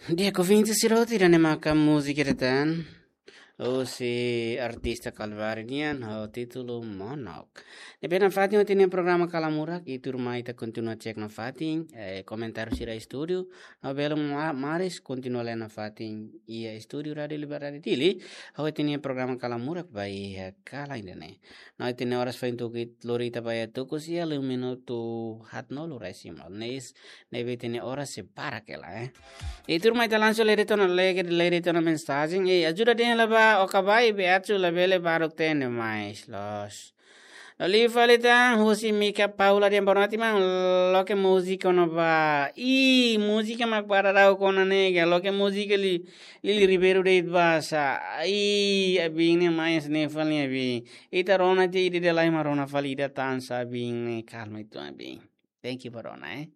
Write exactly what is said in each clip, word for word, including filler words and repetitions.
Di'ak, ouvinte sira hotu, ida-ne'e maka múzika ida tan husi artista Calvário nian ho títulu Monok. Ne'ebé nafatin ita-nia programa Kala Murak, i tuirmai ita kontinua cek nafatin, eh, komentáriu sira estúdiu, no belun ma-, maris kontinua lee nafatin iha estúdiu Rádiu Liberdade Dili, ho ita-nia programa Kala Murak ba iha kalan ida-ne'e. No ita-nia oras foin tuku it-, lori ita ba iha tuku sia liu minutu haatnulu resin malu. Ne'e is, ne'ebé ita-nia oras sei barak hela, eh. I tuirmai ita langsung lee de'it ona, lee de'it ona mensajen. Eh, ajuda dehan la ba, oka bai, be atu labele baruk tende mais, loos. No liu fali tan, husi Mika Paula dehan boa noite, maun, loke múzika ona ba. Ih, múzika mak para rau kona nega, loke múzika Li-, Lili Ribeiro de'it ba sa. Ih, abin ne'e mais ne'e fali abin. Ita rona tiha ida-ida lai mak rona fali ida tan sa abin ne'e, kalma uitoan abin. Thank you ba rona, eh.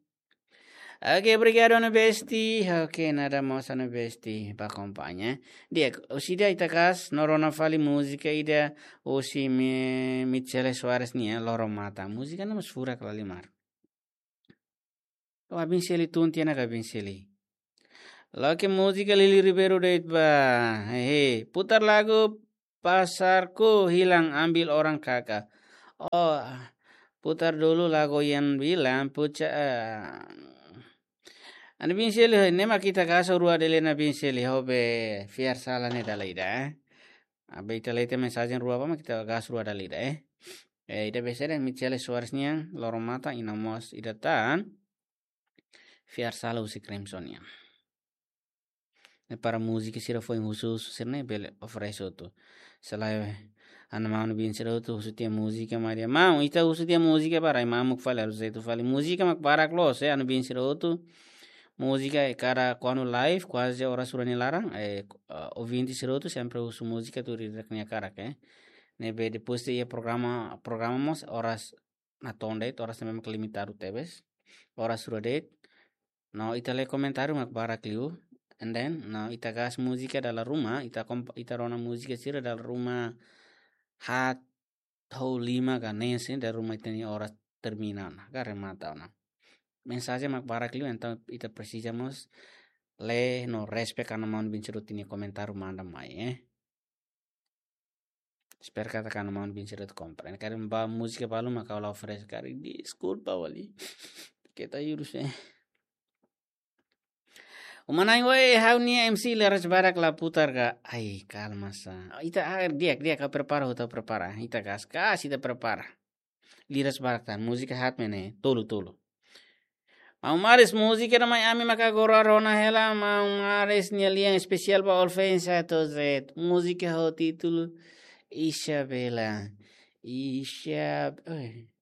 Oke, obrigadu, Anu Besti. Oke, nada mós, Anu Besti, ba akompaña. Di'ak, husi ida ita hakat, no rona fali múzika ida husi Mi-, Michele Soares nian, Loro Mata. Múzika ne'e mós furak la halimar. Ka abin sei lee tun tiha ona ka abin sei lee. Loke múzika Lili Ribeiro de'it ba. Hehe. Putar lagu Pasarku Hilang Ambil Orang Kaka. Oh, putar dulu lagu yang bilang puca, eh. Anu Bin Seli, ne'e mak ita hakat rua de'it, Anu Bin Seli, ho be fiar sala ne'e dala ida, eh. Abe ita lee tiha mensajen rua ba mak ita hakat rua dala ida, eh. Eh, ida be sede, Michele Soares nian, Loro Mata, i no mós ida tan, Fiar Sala husi Crimson nian. Ne'e para múzika sira foin husu-husu sira-ne'e bele oferese hotu. Selae, Anu Maun Bin sira hotu husu tiha múzika, maibé Maun, ita husu tiha múzika para Maun mak fali, harus itu fali. Múzika mak barak loos, eh, Anu Bin sira hotu. Múzika, eh, kada kuandu live, kuaze oras rua nia laran, eh, eh, ouvinte sira hotu sempre husu múzika tuir ida-idak nia hakarak, eh. Ne'ebé depois de iha programa, programa mós oras natoon de'it, oras ne'e mak limitadu tebes. Oras rua de'it. No ita lee komentáriu mak barak liu. And then, no ita hakat múzika dala ruma, ita komp-, ita rona múzika sira dala ruma haat, tolu, lima ka neen, dala ruma ita-nia oras termina ona, ka remata ona. Mensajen mak barak liu, entaun ita presiza mós lee no respect Anu Maun Bin sira hotu nia komentáriu manda mai, eh. Espera katak Anu Maun Bin sira hotu komprende. Karik ba múzika balu mak ha'u la oferese, karik deskulpa fali. Keta jurus, eh. Uma na'in, oi, ha'u-nia M C liras barak la putar ka. Ai, kalma sa. Ita, ah, di'ak, di'ak, ha'u prepara, ha'u prepara. Ita hakat, hakat, ita prepara. Liras barak tan, múzika haat mak ne'e, tolu, tolu. Maun Maris, múzika ida mai ami maka agora rona hela, Maun Maris nia lian espesiál ba Olfensa Tozet. Múzika ho títulu Isabela. Isab-, oi.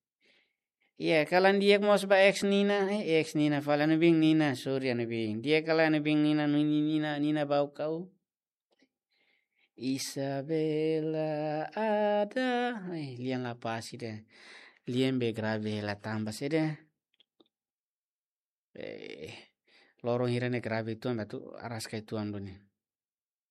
Iya, kalan di'ak mós ba ex Nina, eh, ex Nina fali, Anu Bin Nina, sorry Anu Bin. Di'ak kalan Anu Bin Nina, Nini Nina, Nina Baucau. Isabela ada. Eh, lian la pas ida. Lian be grave la tanba saida. Eh, loron hira ne'e grave uitoan ba atu araska uitoan duni.